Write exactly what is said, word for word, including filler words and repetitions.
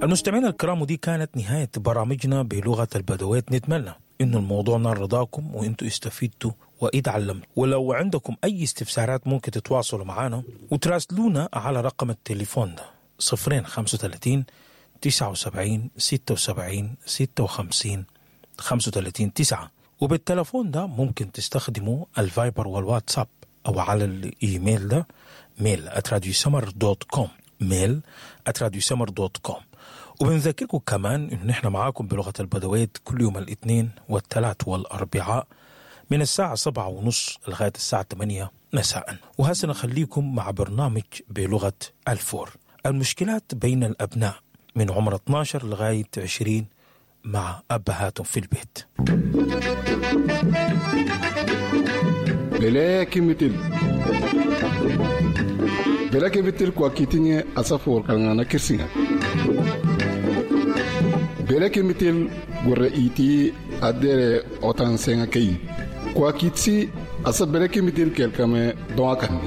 المستمعين الكرام، ودي كانت نهاية برامجنا بلغة البدويت. نتمنى إنه الموضوع نال رضاكم وإنتوا استفدتوا واتعلمتوا. ولو عندكم أي استفسارات ممكن تتواصلوا معنا وتراسلونا على رقم التليفون ده صفرين خمسة وثلاثين تسعة وسبعين ستة وسبعين ستة وخمسين خمسة وثلاثين تسعة. وبالتلفون ده ممكن تستخدموا الفايبر والواتساب أو على الإيميل ده mail at radiosummer dot com، mail at radiosummer dot com. وبنذكركم كمان إنه نحن معاكم بلغة البدويت كل يوم الاثنين والثلاث والأربعاء من الساعة سبعة ونص لغاية الساعة ثمانية مساء. وهسه نخليكم مع برنامج بلغة الفور، المشكلات بين الأبناء من عمر اثناشر لغاية عشرين مع أبهاتهم في البيت. بلاكي متل بلاكي متل كواكيتيني أسافور كان كرسينا بلاكي متل غوريتي أدير أوتان سينكي كواكيتسي أسا بلاكي متل كالكامي دواكاني.